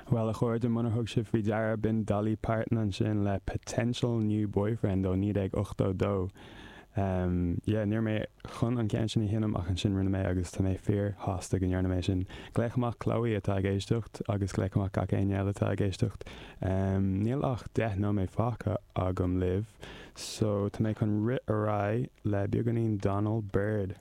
Bhuel, a chairde, munar thug sibh faoi deara, b'in Dolly Parton ansin le Potential New Boyfriend ó 1982. Ehm, yeah, ní raibh mé chun an ceann sin a sheinm ach ansin rinne mé agus tá mé fíor-shásta go ndearna mé sin. Glaoch amach Chloe atá ag éisteacht agus glaoch amach gach éinne eile atá ag éisteacht. Ehm, níl ach 10 nóiméad fágtha agam libh, so tá mé chun rith ar aghaidh le beagáinín Donald Byrd.